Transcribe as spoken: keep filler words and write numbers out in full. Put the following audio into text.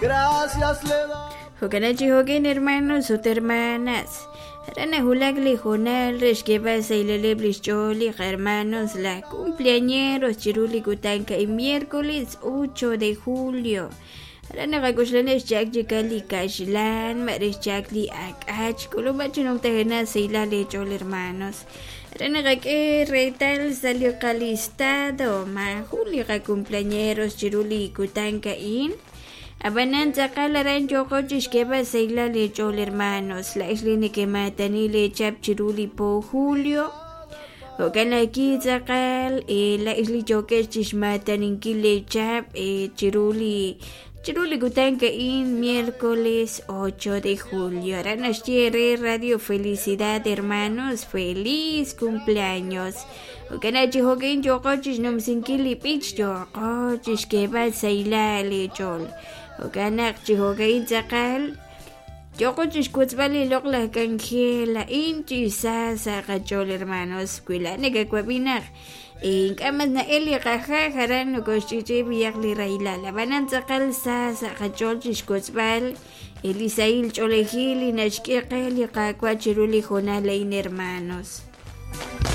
Gracias le da. Jo'kan chi jo'kin hermanos ut hermanas. Aran najulak li hoonal re xk'eeb'al sahileb' li xch'ool li hermanos la cumpleañeros chiru li kutan ka'in miércoles ocho de julio. Aran naqak'uxlan xchak chikal li kaxlan, ma re xchak li ak'ach, k'ulub'a chi numtajena sahilal leech'ool hermanos. Aran naqak'e reetal sa' li qalistado ma jun li qacumpleañeros chiru li kutan ka'in. Abanan tz'aqal aran yoqo chi xk'eeb'al sahilal leech'ool hermanos, la'ex li neke'maatani leechap chiru li po julio. Jo'kan aki tz'aqal la'ex li yokex chi xmaataninkil leechap chiru li chiru li kutan ka'in miércoles ocho de julio. Aran naxye re Radio Felicidad hermanos, feliz cumpleaños. Jo'kan chi jo'kin yoqo chi xnumsinkil li b'ich yoqo chi xk'eeb'al sahilal leech'ool. Jo'kan naq chi jo'kin tz'aqal yoqo chi xkutzb'al li loq'laj k'anjel a'in chi sa sa' qach'ool hermanos. Wi la nekewab'i naq ink'a' mas na'el li qajaj aran nokoxch'ich'i b'iyaq li rahilal. Ab'anan tz'aqal sa sa' qach'ool chi xkutzb'al li sahil ch'oolejil li naxk'e qe li Qaawa' chiru li hoonal a'in hermanos.